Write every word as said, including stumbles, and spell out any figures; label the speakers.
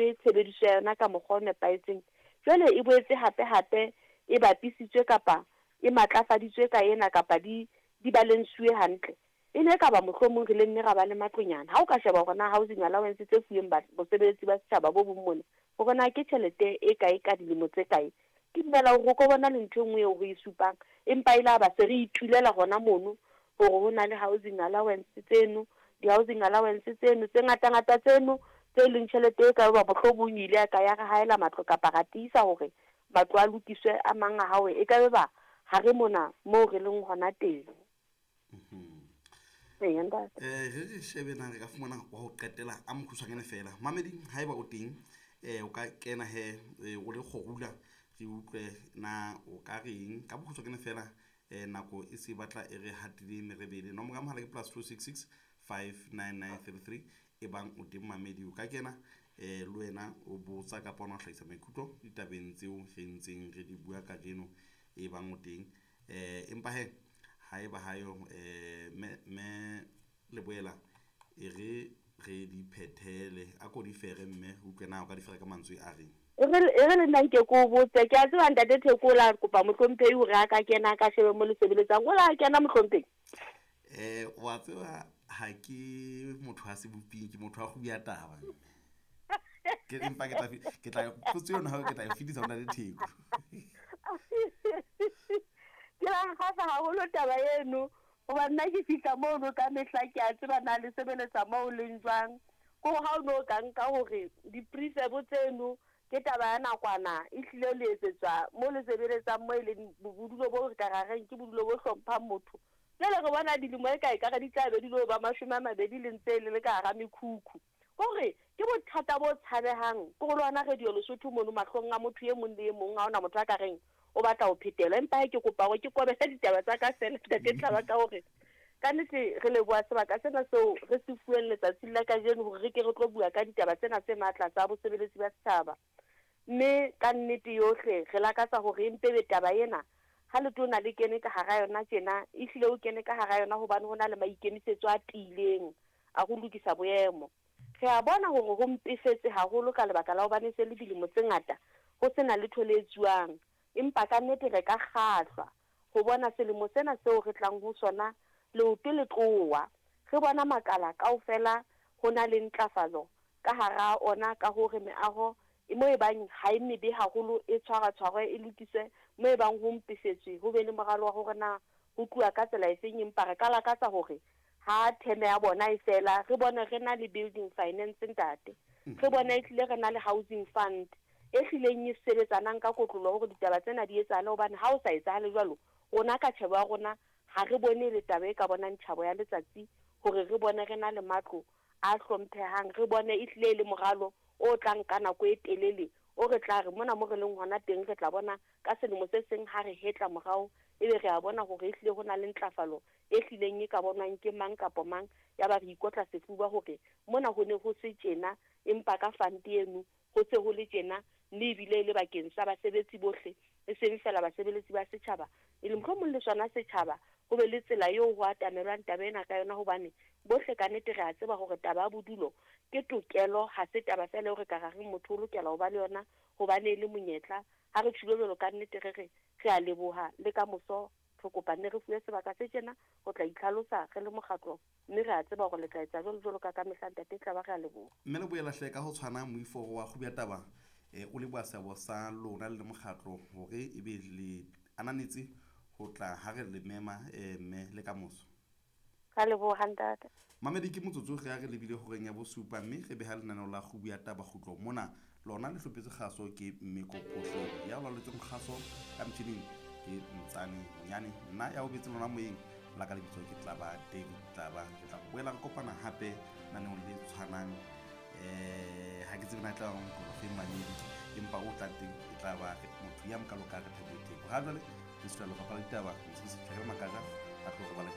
Speaker 1: le tshebediso ya yona ka mokgwa o nepahetseng, jwale e boetse hape hape e bapisitswe kapa e matlafaditswe ka ena kapa di di balensuwe hantle, e ne ka ba mohlomong re le nne ra ba le matlonyana. Ha o ka sheba hore na housing allowance tse fuweng bosebeletsi ba setjhaba bo bong mona, hore na ke tjhelete e kae ka dilemo tse kae, ke dumela hore o ko bona le ntho e nngwe eo re e supang, empa e la ba se re itulela hona mono hore ho na le housing allowance tseno, di-housing allowance tseno tse ngata-ngata tseno tse leng tjhelete e ka ba mohlomong ile ya ka ya re haela matlo kapa ra tiisa hore matlo a lokiswe a mang a hao, e ka be ba ha re mona moo re leng hona teng. Ee, ntate.
Speaker 2: Eh re re shebe na re ka fumana wa ho qetela a mokgutshwanyane fela. Mamedi haeba o teng eh o ka kena he o le kgorula re utlwe na o ka reng ka bokgutshwanyane fela. Eh nako e se batla e re hatile merebele. Nomoro ya mohala ke plus two six six five nine nine three three e bang o teng mamedi o ka kena eh le wena o botsa kapa ona o hlahisa maikutlo ditabeng tseo re ntseng re di bua kajeno e bang o teng. Eh empa he haeba hayo eh me me Leboela e re re di phethele a ko di fere mme utlwe na o ka di fere ka mantswe a reng.
Speaker 1: E re e re le nna nke ko botse, ke a tseba ntate Theko o la kopa mohlomphehi hore a ka kena ka shebe mo le sebeletsang, o la kena mohlomphehi?
Speaker 2: Eh wa tseba ha ke motho a seboping, ke motho wa go bua taba. Ke empa ke tla ke tla potso yona ha ke tla e fetisa ho ntate Theko.
Speaker 1: Ke la nkgahla haholo taba eno, hoba nna ke fihla mono ka mehla ke a tseba na le sebeletsa moo leng jwang. Ko ha o no ka nka hore di-prefab tseno ke taba ya nakwana e hlile le etsetswa mo le sebeletsang mo e leng bodulo bo re ka ra reng ke bodulo bo hlomphang motho. Jwale re bona dilemo e kae ka re di tla be di lo ba mashome a mabedi le ntse le le ka hara mekhukhu. Kore ke bothata bo tshabehang ke go lwana Radio Lesotho mono mahlong a motho e mong le e mong, ha hona motho a ka reng o batla ho phetela. Empa ke kopa hore ke kobele ditaba tsa ka fela ntate Tlaba ka hore ka nnete re leboha sebaka sena seo re se fuweng letsatsing la kajeno hore re ke re tlo bua ka ditaba tsena tse matla tsa bosebeletsi ba setjhaba. Mme ka nnete yohle re lakatsa hore empe be taba ena ha letona le kene ka hara yona tjena, ehlile o kene ka hara yona hobane ho na le maikemisetso a tiileng a ho lokisa boemo. Re a bona hore ho mpefetse haholo ka lebaka la hobane se le dilemo tse ngata ho sena letho le etsuwang, empa ka nnete re ka kgahlwa ho bona selemo sena seo re tlang ho sona leoto le tloha. Re bona makala kaofela ho na le ntlafatso ka hara ona ka hore meaho e mo e bang ha e mebe haholo e tshwara-tshwarwe e lokiswe, mo e bang ho mpefetswe ho be le moralo wa hore na ho tluwa ka tsela efeng. Empa re ka lakatsa hore ha theme ya bona e fela re bone re na le building finance ntate, re bone ehlile re na le housing fund e hlileng e sebetsanang ka kotlolo hore ditaba tsena di etsahale, hobane ha o sa etsahale jwalo rona ka tjhebo ya rona ha re bone le taba e ka bonang tjhabo ya letsatsi hore re bone re na le matlo a hlomphehang, re bone ehlile le moralo o tlang ka nako e telele o re tla re mona mo re leng hona teng re tla bona ka selemo se seng ha re hetla morao ebe re a bona hore ehlile ho na le ntlafalo e hlileng e ka bonwang ke mang kapa mang, ya ba re ikotla sefuba hore mona ho ne ho se tjena empa ka fund eno ho se ho le tjena, mme ebile le bakeng sa basebetsi bohle e seng fela basebeletsi ba setjhaba, e leng mohlomong le sona setjhaba ho be le tsela eo ho atamelwang taba ena ka yona, hobane bohle ka nnete re a tseba hore taba ya bodulo ke tokelo, ha se taba fela eo re ka ra reng motho o lokela ho ba le yona hobane e le monyetla. Ha re tjhilo jwalo ka nnete re re re a leboha le ka moso re kopa nne re fuwe sebaka se tjena ho tla itlhalosa re le mokgatlo, mme re a tseba hore le tla etsa jwalo jwalo ka ka mehla ntate Tlaba, re a leboha.
Speaker 2: Mme Leboela hle ka ho tshwana moifo wa kgubu ya taba eh o leboha seabo sa lona le mokgatlo hore ebe le ananetse ho tla ha re le mema eh mme le ka moso.
Speaker 1: Ka leboha ntate.
Speaker 2: Mamedi ke motsotso re a re lebile horeng ya bosupa mme re beha lenaneo la kgubu ya taba kgutlo mona lona le hlopetse kgaso ke Mmeko Phohlong ya laoletseng kgaso ka motjhining ke Ntsane Monyane, nna ya o betse lona moyeng la ka lebitso ke Tlaba David Tlaba. Re tla boela re kopana hape naneong le tshwanang eh ha ke tsebe na tla go fe mamedi empa o tla teng e tla ba motho ya mokalo ka re Thabo Theko. Ha jwale le setswa lefapha la ditaba se se tlhakela makaja a tlo re bala